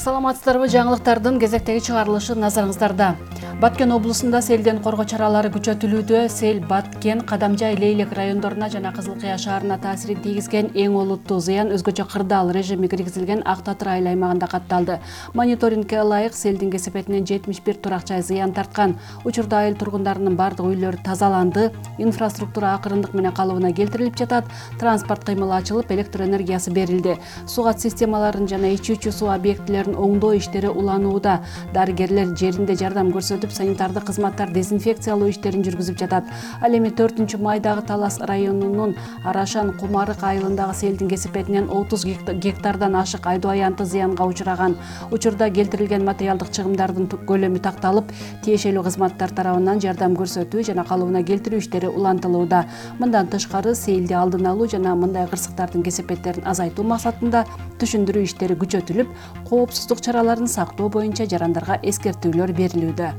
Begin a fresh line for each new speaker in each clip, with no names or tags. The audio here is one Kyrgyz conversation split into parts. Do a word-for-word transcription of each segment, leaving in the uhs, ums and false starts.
Саламатсыздарбы, жаңылыктардын кезектеги чыгарылышы назарыңыздарда. Баткен облусунда селден коргоо чаралары күчөтүлүүдө. Сел Баткен, Кадамжай, Лейлек райондоруна жана Кызыл Кыя шаарына таасирин тийгизген эң олуттуу зыян өзгөчө кырдаал режими киргизилген Ак Татыр айыл аймагында катталды. Мониторингке ылайык селдин кесепетинен жетимиш бир турак жай зыян тарткан. Учурда айыл тургундарынын бардык үйлөрү тазаланды, инфраструктура акырындык менен калыбына келтирилип жатат, транспорт кыймылы ачылып, электр энергиясы берилди. Сугат системаларын жана ичүүчү суу объектилерин оңдоо иштери уланууда. Дарыгерлер жеринде жардам көрсөтүп, санитардык кызматтар дезинфекциялоо иштерин жүргүзүп жатат. Ал эми төртүнчү майдагы Талас районунун Арашан Кумарык айылындагы селдин кесепетинен отуз гектардан ашык айдоо аянты зыянга учураган. Учурда келтирилген материалдык чыгымдардын көлөмү такталып, тиешелүү кызматтар тарабынан жардам көрсөтүү жана калыбына келтирүү иштери улантылууда. Мындан тышкары селди алдын алуу жана мындай кырсыктардын кесепеттерин азайтуу максатында түшүндүрүү иштери күчөтүлүп, коопсуздук чараларын сактоо боюнча жарандарга эскертүүлөр берилүүдө.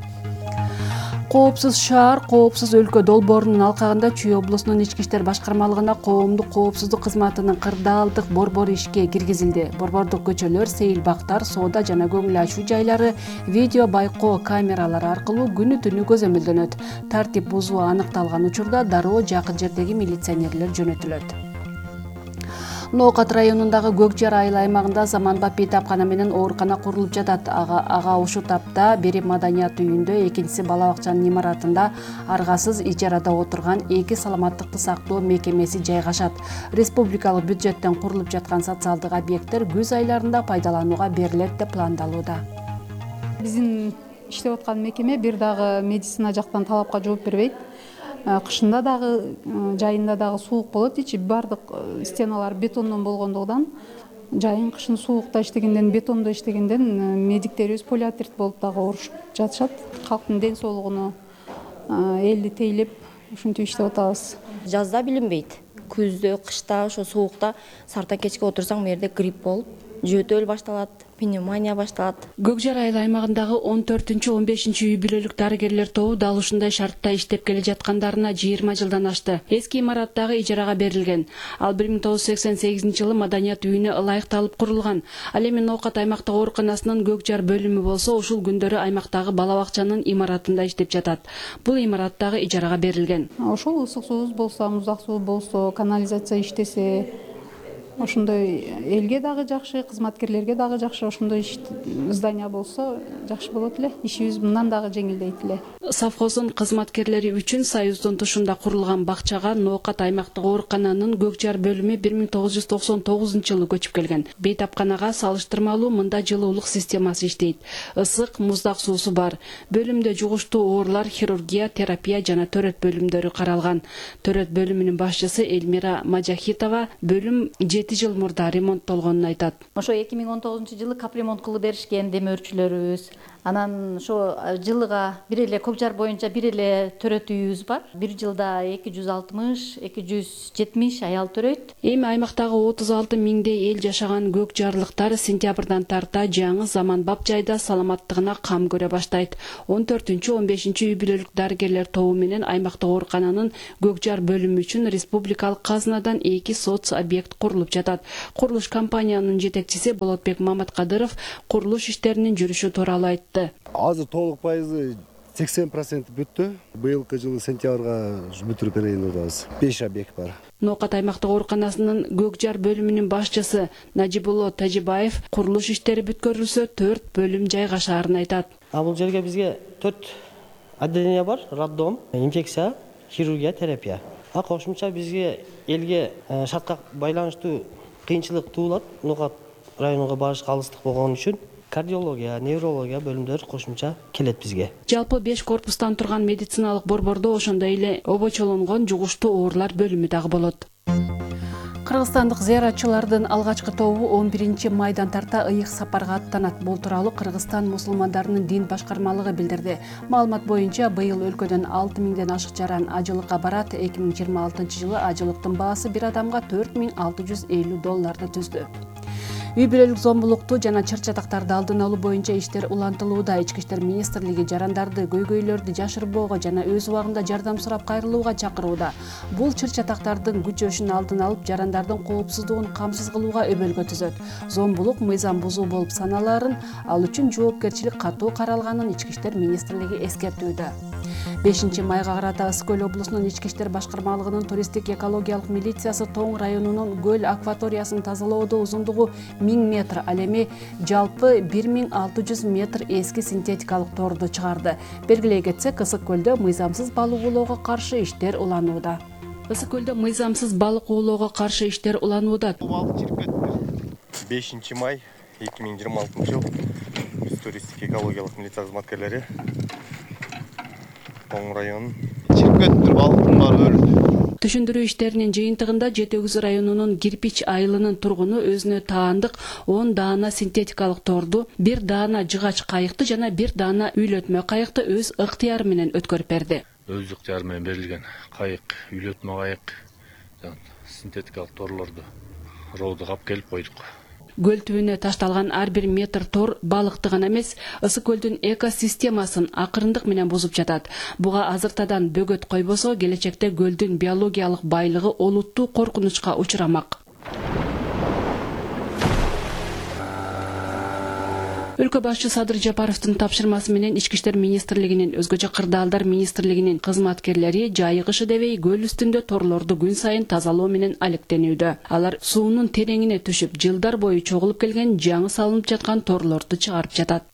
Коопсуз шаар, коопсуз өлкө долбоорунун алкагында Чүй облусунун ички иштер башкармалыгына коомдук коопсуздук кызматынын кырдаалдык борбору ишке киргизилди. Борбордук көчөлөр, сейил бактар, соода жана көңүл ачуу жайлары видео байкоо камералары аркылуу күнү түнү көзөмөлдөнөт. Тартип бузуу аныкталган учурда дароо жакын жердеги милиционерлер жөнөтүлөт. Ноокат районундагы Көкжар айыл аймагында заманбап бейтапкана менен оорукана курулуп жатат. Ага, ага ушул тапта бири маданият үйүндө, экинчиси бала бакчанын имаратында аргасыз ижарада отурган эки саламаттыкты сактоо мекемеси жайгашат. Республикалык бюджеттен курулуп жаткан социалдык объекттер күз айларында пайдаланууга берилет деп пландалууда.
Биздин иштеп аткан мекеме бир дагы медицина жактан талапка жооп бербейт. Кышында дагы, жайында дагы суук болот. Ичи бардык стеналар бетондон болгондугунан, жайын кышын суукта иштегенден, бетондо иштегенден медиктерибиз полиартрит болуп дагы оорушуп жатышат. Калктын ден соолугуна элди тейлеп, ушинтип иштеп атабыз.
Жазда билинбейт. Күздө, кышта, ошо суукта сарта кечке отурсаң, мерде грипп болуп, жөтөл башталат, пневмония башталат.
Көкжар айыл аймагындагы он төртүнчү он бешинчи үй бүлөлүк дарыгерлер тобу дал ушундай шартта иштеп келе жаткандарына жыйырма жылдан ашты. Эски имараттагы ижарага берилген. Ал бир миң тогуз жүз сексен сегизинчи жылы маданият үйүнө ылайыкталып курулган. Ал эми Ноокат аймактык ооруканасынын Көкжар бөлүмү болсо, ушул күндөрү аймактагы бала бакчанын имаратында иштеп жатат. Бул имарат дагы ижарага берилген.
Ошол ысык суубуз болсо, муздак суу болсо, канализация иштесе, ошондой элге дагы жакшы, кызматкерлерге дагы жакшы, ошондой здание болсо жакшы болот эле. Ишибиз мындан дагы жеңилдейт эле.
Совхоздун кызматкерлери үчүн Союздун тушунда курулган бакчага Ноокат аймактык оорукананын Көкжар бөлүмү бир миң тогуз жүз токсон тогузунчу жылы көчүп келген. Бейтапканага салыштырмалуу мында жылуулук системасы иштейт. Ысык, муздак суусу бар. Бөлүмдө жугуштуу оорулар, хирургия, терапия жана төрөт бөлүмдөрү каралган. Төрөт бөлүмүнүн башчысы Элмира Мажахитова бөлүм жети жыл мурда ремонттолгонун айтат.
Ошо эки миң он тогузунчу жылы капремонт кылып беришкен демөөрчүлөрүбүз. Анан ошо жылыга бир эле Көкжар боюнча бир эле төрөт үйүбүз бар. Бир жылда эки жүз алтымыш эки жүз жетимиш аял төрөйт.
Эми аймактагы отуз алты миңдей эл жашаган көкжарлыктар сентябрдан тарта жаңы заманбап жайда саламаттыгына кам көрө баштайт. он төртүнчү он бешинчи үй бүлөлүк дарыгерлер тобу менен аймактык оорукананын Көкжар бөлүмү үчүн республикалык казынадан эки соц объект курулуп жатат. Курулуш компаниянын жетекчиси Болотбек Маматкадыров курулуш иштеринин жүрүшү тууралуу айтты.
Азыр толук пайызы сексен процент бүттү. Быйылкы жылы сентябрга бүтүрүп берейин деп атабыз. беш объект бар.
Ноокат аймактык ооруканасынын Көкжар бөлүмүнүн башчысы Нажибулло Тажибаев курулуш иштери бүткөрүлсө төрт бөлүм жайгашаарын айтат.
А бул жерге бизге төрт отделение бар: роддом, инфекция, хирургия, терапия. А кошумча бизге элге шартка байланыштуу кыйынчылык туулат. Ноокат районуга барышка алыстык болгон үчүн кардиология, неврология бөлүмдөрү кошумча келет бизге.
Жалпы беш корпустан турган медициналык борбордо ошондой эле обочолонгон жугуштуу оорулар бөлүмү дагы болот. Кыргызстандык зыяратчылардын алгачкы тобу он биринчи майдан тарта ыйык сапарга аттанат. Бул тууралуу Кыргызстан мусулмандарынын дин башкармалыгы билдирди. Маалымат боюнча быйыл өлкөдөн алты миңден ашык жаран ажылыкка барат. эки миң жыйырма алтынчы жылы ажылыктын баасы бир адамга төрт миң алты жүз элүү долларды түздү. Үй бүлөлүк зомбулукту жана чыр-чатактарды алдын алуу боюнча иштер улантылууда. Ички иштер министрлиги жарандарды, көйгөйлөрдү жашырбоого жана өз убагында жардам сурап кайрылууга чакырууда. Бул чыр-чатактардын күчөшүн алдын алып, жарандардын коопсуздугун камсыз кылууга өбөлгө түзөт. Зомбулук мыйзам бузуу болуп саналарын, ал үчүн жоопкерчилик катуу каралганын Ички иштер министрлиги эскертүүдө. бешинчи майга карата Ысык көл облусунун Ички иштер башкармалыгынын туристтик экологиялык милициясы Тоң районунун көл акваториясын тазалоодо узундугу миң метр, ал эми жалпы бир миң алты жүз метр эски синтетикалык торду чыгарды. Белгилей кетсек, Ысык көлдө мыйзамсыз балык уулоого каршы иштер уланууда. Ысык көлдө мыйзамсыз балык уулоого каршы иштер уланууда.
Балык чирип кетти. бешинчи май эки миң жыйырма алтынчы жыл биз туристтик экологиялык милиция кызматкерлери Тоң районун чирип кетиптир, балыктын баары өлдү.
Түшүндүрүү иштеринин жыйынтыгында Жети Өгүз районунун Кирпич айылынын тургуну өзүнө таандык он даана синтетикалык торду, бир даана жыгач кайыкты жана бир даана үйлөтмө кайыкты өз ыктыяры менен өткөрүп берди.
Өз ыктыяры менен берилген кайык, үйлөтмө кайык, синтетикалык торлорду роодо кап келип койдук.
Көл түбүнө ташталган ар бир метр тор балыкты гана эмес, Ысык көлдүн экосистемасын акырындык менен бузуп жатат. Буга азыртадан бөгөт койбосо, келечекте көлдүн биологиялык байлыгы олуттуу коркунучка учурамак. Өлкө башчы Садыр Жапаровдун тапшырмасы менен Ички иштер министрлигинин, өзгөчө кырдаалдар министрлигинин кызматкерлери жайыгышы дебей көл үстүндө торлорду күн сайын тазалоо менен алектенүүдө. Алар суунун тереңине түшүп, жылдар бою чогулуп келген жаңы салынып жаткан торлорду чыгарып жатат.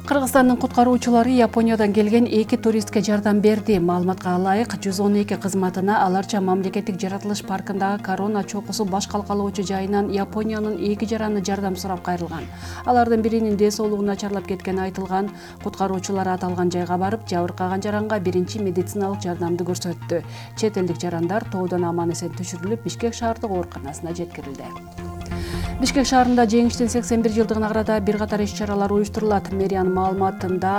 Кыргызстандын куткаруучулары Япониядан келген эки туристке жардам берди. Маалыматка ылайык, жүз он эки кызматына аларча мамлекеттик жаратылыш паркындагы корона чокусу баш калкалоочу жайынан Япониянын эки жараны жардам сурап кайрылган. Алардын биринин дээ соолугу начарлап кеткени айтылган. Куткаруучулар аталган жайга барып, жабыркаган жаранга биринчи медициналык жардамды көрсөттү. Чет элдик жарандар тоодон аман эсен түшүрүлүп, Бишкек шаардык ооруканасына жеткирилди. Бишкек шаарында жеңиштин сексен бир жылдыгына карата бир катар иш-чаралар уюштурулат. Мэриянын маалыматында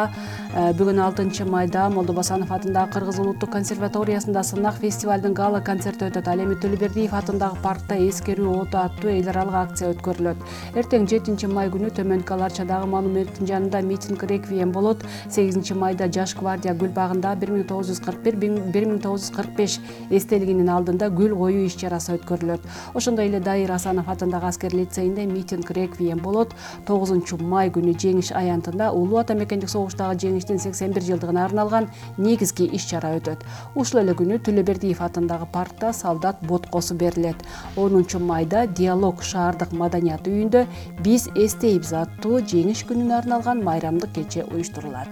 бүгүн алтынчы майда Молдобасанов атындагы Кыргыз улуттук консерваториясында сынак фестивалдын гала концерти өтөт. Ал эми Төлөбердиев атындагы паркта эскерүү оту аттуу эл аралык акция өткөрүлөт. Эртең жетинчи май күнү Төмөнкү Аларчадагы монументтин жанында митинг реквием болот. сегизинчи майда Жаш гвардия гүл багында бир миң тогуз жүз кырк бир — бир миң тогуз жүз кырк беш эстелигинин алдында гүл коюу иш-чарасы өткөрүлөт. Ошондой эле Дайыр Асанов атындагы аскер лицейинде митинг реквием болот. тогузунчу май күнү Жеңиш аянтында Улуу ата мекендик согуштагы жеңиштин сексен бир жылдыгына арналган негизги иш-чара өтөт. Ушул эле күнү Төлөбердиев атындагы паркта солдат боткосу берилет. онунчу майда Диалог шаардык маданият үйүндө Биз эстейбиз аттуу жеңиш күнүнө арналган майрамдык кече уюштурулат.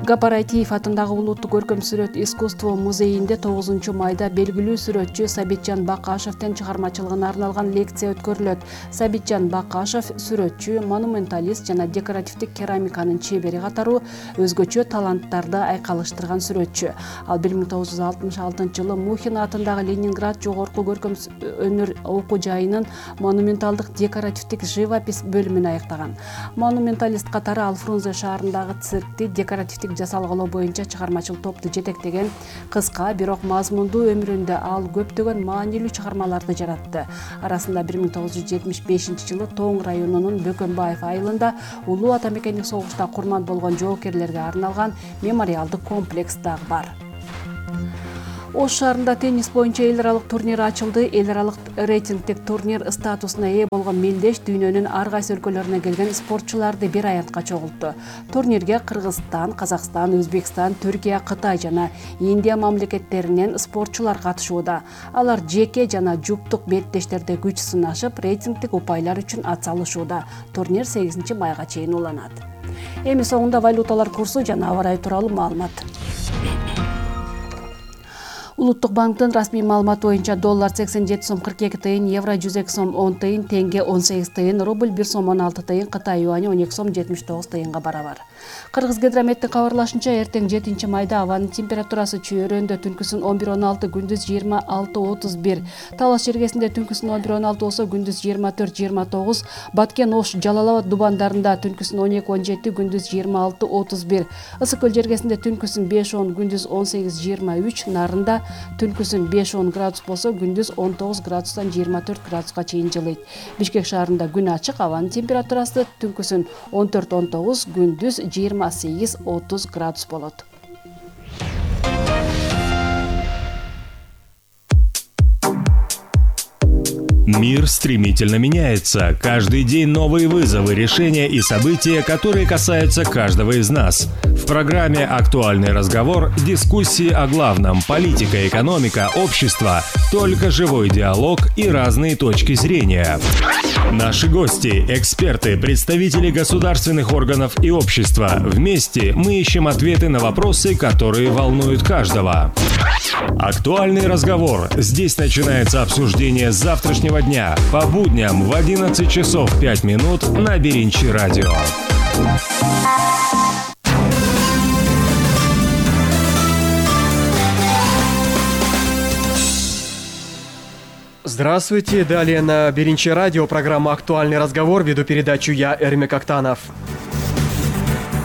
Гапар Айтиев атындагы Улуттук көркөм сүрөт искусство музейинде тогузунчу майда белгилүү сүрөтчү Сабитжан Бакашевдин чыгармачылыгына арналган лекция өткөрүлөт. Сабитжан Бакашев сүрөтчү, монументалист жана декоративдик керамиканын чебери катары өзгөчө таланттарды айкалыштырган сүрөтчү. Ал бир миң тогуз жүз алтымыш алтынчы жылы Мухин атындагы Ленинград жогорку көркөм өнөр окуу жайынын монументалдык декоративдик живопись бөлүмүн аяктаган. Монументалист катары ал Фрунзе шаарындагы циркти декоративдик жасалгалоо боюнча чыгармачыл топту жетектеген. Кыска, бирок мазмундуу өмүрүндө ал көптөгөн маанилүү чыгармаларды жаратты. Арасында бир миң тогуз жүз жетимиш бешинчи жылы Тоң районунун Бөкөнбаев айылында Улуу ата мекендик согушта курман болгон жоокерлерге арналган мемориалдык комплекс дагы бар. Ош шаарында теннис боюнча эл аралык турнир ачылды. Эл аралык рейтингдик турнир статусуна ээ болгон мелдеш дүйнөнүн ар кайсы өлкөлөрүнөн келген спортчуларды бир аянтка чогултту. Турнирге Кыргызстан, Казакстан, Өзбекстан, Түркия, Кытай жана Индия мамлекеттеринен спортчулар катышууда. Алар жеке жана жуптук беттештерде күч сынашып, рейтингдик упайлар үчүн ат салышууда. Турнир сегизинчи майга чейин уланат. Эми соңунда валюталар курсу жана аба ырайы тууралуу маалымат. Улуттук банктын расмий маалыматы боюнча доллар сексен жети сом кырк эки тыйын, евро жүз эки сом он тыйын, тенге он сегиз тыйын, рубль бир сом он алты тыйын, Кытай юаню он эки сом жетимиш тогуз тыйынга барабар. Кыргызгидрометтин кабарлашынча, эртең жетинчи майда абанын температурасы чүйөрөндө түнкүсүн он бир он алты, күндүз жыйырма алты отуз бир, Талас жергесинде түнкүсүн он бир он алты болсо, күндүз жыйырма төрт жыйырма тогуз, Баткен, Ош, Жалал Абад дубандарында түнкүсүн он эки он жети, күндүз жыйырма алты отуз бир, Ысык көл жергесинде түнкүсүн беш он, күндүз он сегиз жыйырма үч, Нарында түнкүсүн беш он градус болсо, күндүз он тогуз градустан жыйырма төрт градуска чейин жылыйт. Бишкек шаарында күн ачык, абанын температурасы түнкүсүн он төрт он тогуз, күндүз жыйырма сегиз отуз градус болот.
Мир стремительно меняется. Каждый день новые вызовы, решения и события, которые касаются каждого из нас. В программе «Актуальный разговор» дискуссии о главном – политика, экономика, общество, только живой диалог и разные точки зрения. Наши гости – эксперты, представители государственных органов и общества. Вместе мы ищем ответы на вопросы, которые волнуют каждого. «Актуальный разговор». Здесь начинается обсуждение завтрашнего дня по будням в одиннадцать часов пять минут на Беринчи радио.
Здравствуйте, далее на Беринчи радио программа «Актуальный разговор», веду передачу я, Эрмек Актанов.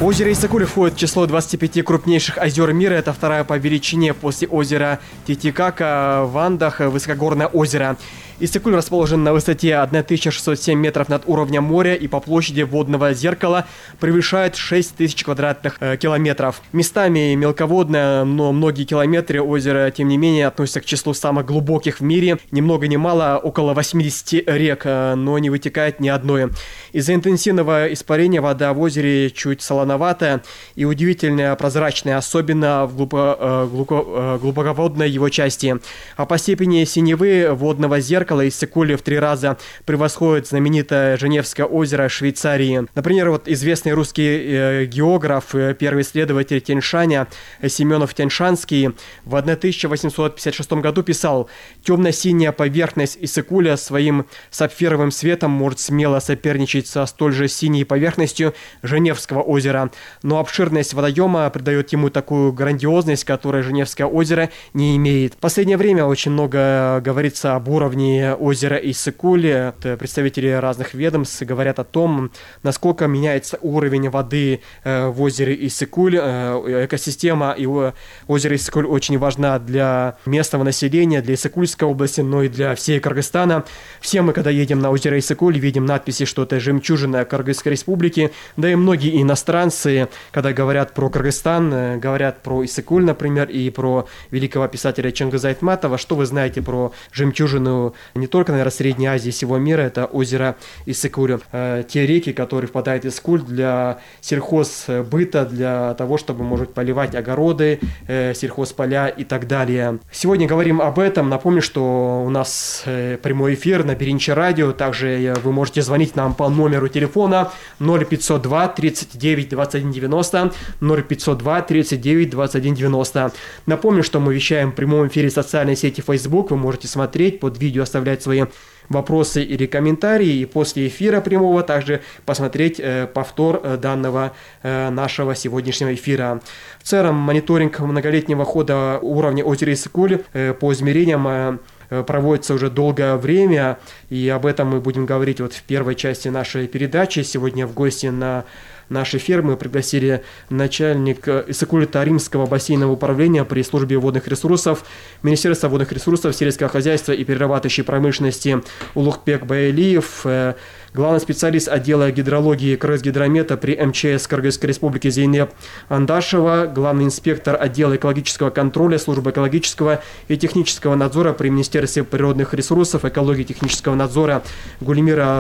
Озеро Иссык-Куль входит в число двадцати пяти крупнейших озер мира. Это вторая по величине после озера Титикака в Андах высокогорное озеро. Иссык-Куль расположен на высоте тысяча шестьсот семь метров над уровнем моря и по площади водного зеркала превышает шесть тысяч квадратных э, километров. Местами мелководное, но многие километры озера, тем не менее, относятся к числу самых глубоких в мире. Ни много ни мало, около восьмидесяти рек, э, но не вытекает ни одной. Из-за интенсивного испарения вода в озере чуть солоноватая и удивительно прозрачная, особенно в глубоко, э, глубоко, э, глубоководной его части. А по степени синевы водного зеркала Иссык-Куль в три раза превосходит знаменитое Женевское озеро Швейцарии. Например, вот известный русский э, географ, э, первый исследователь Тяньшаня э, Семенов Тяньшанский в тысяча восемьсот пятьдесят шестом году писал: «Темно-синяя поверхность Иссык-Куля своим сапфировым светом может смело соперничать со столь же синей поверхностью Женевского озера. Но обширность водоема придает ему такую грандиозность, которой Женевское озеро не имеет». В последнее время очень много говорится об уровне озера Иссык-Куль. Представители разных ведомств говорят о том, насколько меняется уровень воды в озере Иссык-Куль. Экосистема и озера Иссык-Куль очень важна для местного населения, для Иссык-Кульской области, но и для всей Кыргызстана. Все мы, когда едем на озеро Иссык-Куль, видим надписи, что это жемчужина Кыргызской республики. Да и многие иностранцы, когда говорят про Кыргызстан, говорят про Иссык-Куль, например, и про великого писателя Чингиза Айтматова. Что вы знаете про жемчужину не только, наверное, Средней Азии, всего мира? Это озеро Иссык-Куль. Те реки, которые впадают в Иссык-Куль для сельхозбыта, для того, чтобы, может, поливать огороды, сельхозполя и так далее. Сегодня говорим об этом. Напомню, что у нас прямой эфир на Беринчи радио. Также вы можете звонить нам по номеру телефона ноль пятьсот два тридцать девять двадцать один девяносто, ноль пятьсот два тридцать девять двадцать один девяносто. Напомню, что мы вещаем в прямом эфире в социальной сети Facebook. Вы можете смотреть под видео, оставлять свои вопросы или комментарии, и после эфира прямого также посмотреть э, повтор э, данного э, нашего сегодняшнего эфира. В целом, мониторинг многолетнего хода уровня озера Иссык-Куль э, по измерениям э, проводится уже долгое время, и об этом мы будем говорить вот в первой части нашей передачи. Сегодня в гости на нашей фермы пригласили начальник Иссык-Куль-Таримского бассейнового управления при службе водных ресурсов Министерства водных ресурсов, сельского хозяйства и перерабатывающей промышленности Улукбек Байлиев, главный специалист отдела гидрологии Кыргызгидромета при эм че эс Кыргызской республики Зейнеп Андашева, главный инспектор отдела экологического контроля службы экологического и технического надзора при Министерстве природных ресурсов, экологии и технического надзора Гульмира